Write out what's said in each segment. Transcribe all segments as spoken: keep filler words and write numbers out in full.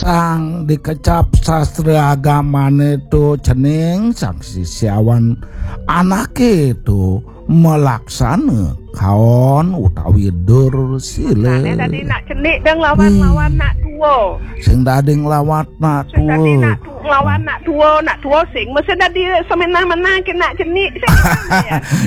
Tang dikecap sastra agamane to cening sang sisiawan anake to melaksana kaon utawi dur sila. Ane dadi nak cenik dang lawan, hmm, lawan nak tua. Sing dadi nglawat nak tua. Sing dadi nak tu-, nglawan nak tua, nak tua sing mesti dadi semenah-menah ke nak cenik sing.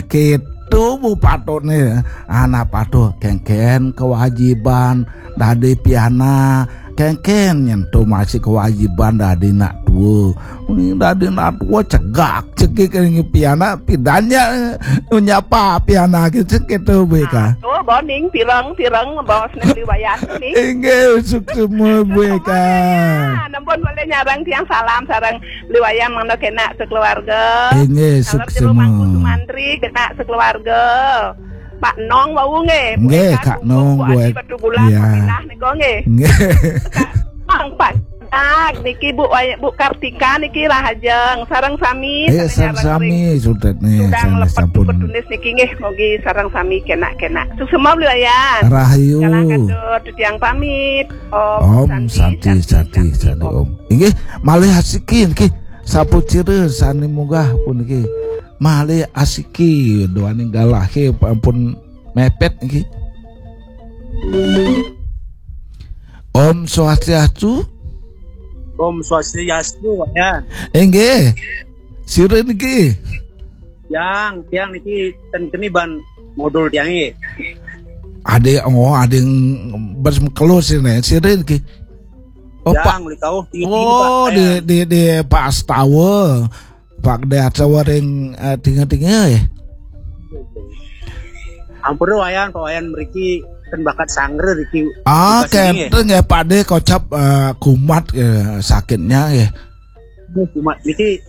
Gitu bu patutne. Anak patuh kengken kewajiban dadi piana, kengken nyentuh masih kewajiban dadi nak tua. Ini dadi nak tua cegak cekik ini piana pidanya nyapa piana gitu gitu bu ka. Oh, boning pirang-pirang bawa seneng liwayan ni. Inggih, suksma bu ka. Nah, nempun boleh nyarang tiang salam sarang liwayan mangda kena sekeluarga. Inggih, salam suksma. Mangku Sumantri kena sekeluarga. Pak Nong wau nggih. Nggih, Kak Nong, Bu Adi Batu Bulan, ya. Pak Pinah nika nggih. Nggih. Kak Nong, Pak Dak niki Bu Way-, Bu Kartika niki rahajeng sareng sami. Eh, sareng sami sutet nih, sudah sareng melepat sampun. Tulis niki nggih, mugi sareng sami kena-kena. Suksma liwayan. Rahayu. Jalan katut, titiang pamit. Om Santi, Santi, Santi, Santi, Om. Inggih, malih asiki niki. Sapucira sane munggah puniki. Malih asiki duaning galahe ampun mepet niki. Om Swastiastu. Om Swastiastu, ya. Inggih. Sira niki. Yang, tiang niki ten keni ban modul tiang nggih. Ade, oh, ade bes mekelo sini. Sira niki. Oh, Pak. Yang, likau, tinggi, oh, Pak, di, ya. Di, di Pak Astawa. Pak Gede Astawa ring, eh, tinga-tinga ya. Ampura Wayan, Pak Wayan mriki ten bakat sanggra riki. Ah, tugas ini, kenten ya Pak De kocap, eh, kumat ya, sakitnya ya. Kumat niki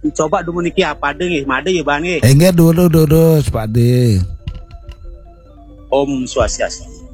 dicoba dulu niki apa de nggih, made ya Bang nggih. Enggak dulu durus Pak De. Om Swastiastu.